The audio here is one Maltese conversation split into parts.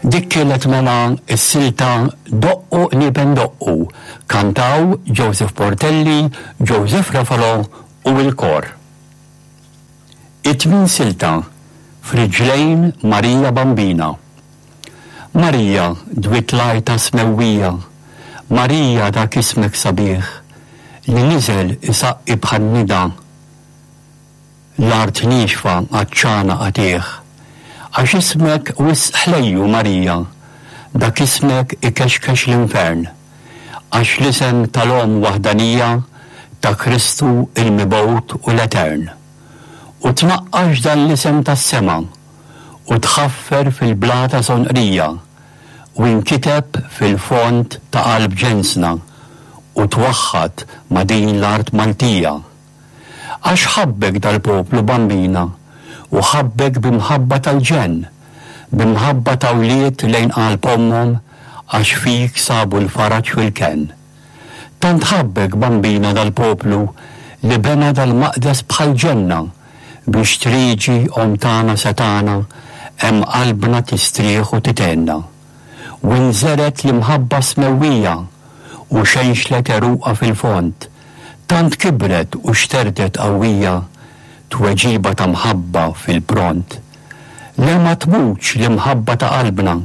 Dik kienet mela s-silta Doqqu Qniepen Doqqu, kantaw Joseph Portelli, Joseph Refalo u l-kor. It-tmien silta, F'Riġlejn Marija Bambina. Marija dwiet l-għajta smewwija, Marija dak ismek sabiħ, li niżel isaqqi bħan-nida L-art niexfa għatxana qatigħ. Għax ismek wisq ħlejju, Marija, Dak ismek ikexkex l-infern. Għax l-isem tal-Omm waħdanija Ta' Kristu il-Mibgħut u l-Etern. U tnaqqax dan l-isem tas-sema U tħaffer fil-blata sonqrija U inkiteb fil-fond ta' qalb ġensna U twaħħad ma' din l-art Maltija. Għax ħabbek dal-poplu, Bambina, u ħabbek bi mħabba tal-ġenn, bi mħabba ta' wlied lejn qalb ommhom għax fik sabu l-faraġ fil-kenn. Tant ħabbek, Bambina, dal-poplu li bena dal-maqdes bħal ġenna biex trieġi Omm tagħna setgħana hemm qalbna tistrieħ u tithenna. U nżergħet l-imħabba smewwija u xenxlet għeruqha fil-fond, tant kibret u xterdet qawwija, tweġiba ta' mħabba fil-pront. Le ma tmutx l-imħabba ta' qalbna,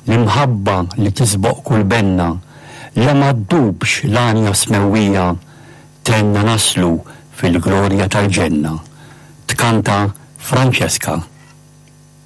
l-imħabba li tisboq kull benna, le ma ddubx l-għanja smewwija, tgħinna naslu fil-glorja tal-ġenna. Tkanta Francesca.